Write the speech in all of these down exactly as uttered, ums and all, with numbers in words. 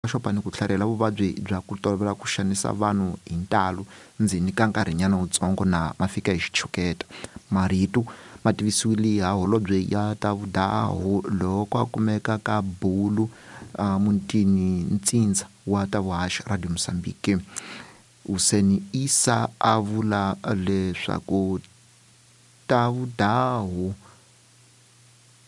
Xopa ni ku tlharihela vuvabyi bya ku tolovela ku xanisa vanhu hi ntalo ndzeni ka nkarhinyana wutsongo na ma fika hi xitshuketa. Marito ma tivisiwile ha holobye ya ta vudahu loko a kumeka ka bulu uh, mutini ntsindza wa ta vuhaxi Radio Mozambique. Hussein Issa a vula leswaku ta vudahu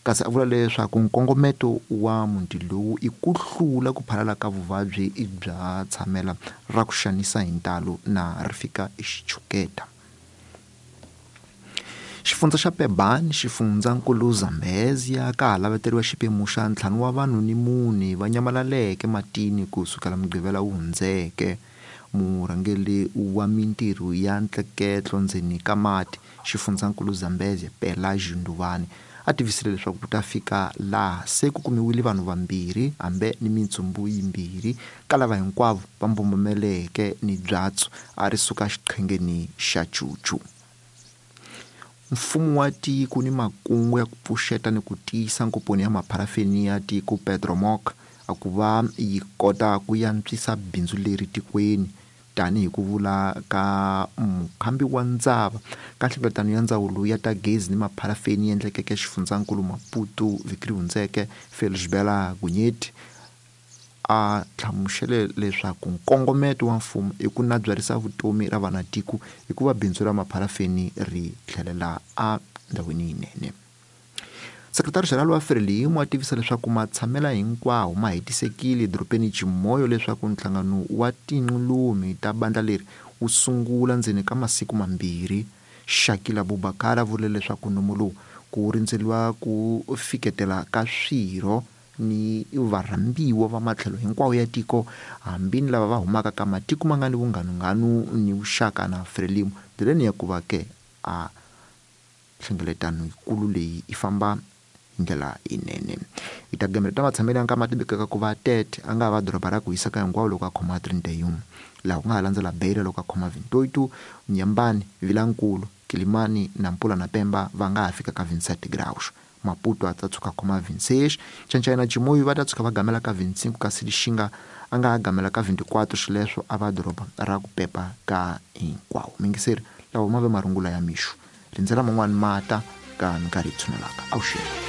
kasi a vula leswaku nkongometo wa muti lowu i ku hlula ku phalala ka vuvabyi bya tshamela ra ku xanisa hi ntalo na ri fika xitshuketa. Xifundza xa Pebane, xifundzankulu Zambezia ka ha laveteriwa xiphemu xa ntlhanu wa vanhu ni mune va nyamalaleke matini ku sukela Mugqivela wu hundzeke. Murhangeri wa mintirho ya ntleketlo ndzeni ka mati xifundzankulu Zambezia Pelagio Nduvani a tivisile leswaku ku ta fika laha se ku kumiwile vanhu vambirhi hambe ni mintsumbu yimbirhi ka lava hinkwavo va mbombomeleke ni byatso a ri suka xiqhengeni xa Chuchu. Mfumo wa tiko ni makungu ya ku pfuxeta ni ku tiyisa nkomponi ya mapharafeni ya tiko Petromoc a ku va yi kota ku yantswisa bindzu leri tikweni tanihi ku vula ka mukhambi wa ndzava ka nhlengeletano ya ndzawulo ya ta gezi ni mapharafeni yi endlekeke xifundzankulu Maputo vhiki ri hundzeke. Felisbela Gunyeti a hlamusele leswaku nkongometo wa mfumo i ku nabyarisa vutomi ra vanatiko hikuva bindzu ra mapharafeni ri tlhelela endhawini yinene. Sekretari General wa Frelimo a tivisa leswaku matshamela hinkwawo ma hetisekile edorobeni Chimoio leswaku nhlangano wa tinqulumi ta bandla leri wu sungula ndzeni ka masiku mambirhi. Shakila Abubakar a vule leswaku nomo lowu ku rindzeriwa ku fiketela ka swirho ni varhambiwa va matlhelo hinkwawo ya tiko hambi ni lava va humaka ka matiko ma nga ni vunghanunghanu ni vuxaka na Frelimo ndleleni ya ku va ke a nhlengeletano yikulu leyi yi famba hi ndlela yinene. Hi ta gamela ta matshamelo ya nkama tivekaka ku va tete a nga va doroba ra ku hisa ka hinkwawo loko a khoma trinta e um, laha ku nga ha landzela Beira loko a khoma vinte e oito, Nyambani, Vilankulu, Kilimani, Nampula na Pemba va nga ha fika ka vinte e sete graus. Maputo a ta tshuka khoma vinte e seis, Ncancai na Chimoio va ta tshuka va gamela ka vinte e cinco, kasi Lixinga a nga ha gamela ka vinte e quatro, xileswo a va doroba ra ku pepa ka hinkwawo. Mingiseri lawa ma ve marungula ya mixo, rindzela man'wani mata ka minkarhi yi tshunelaka. Avuxeni.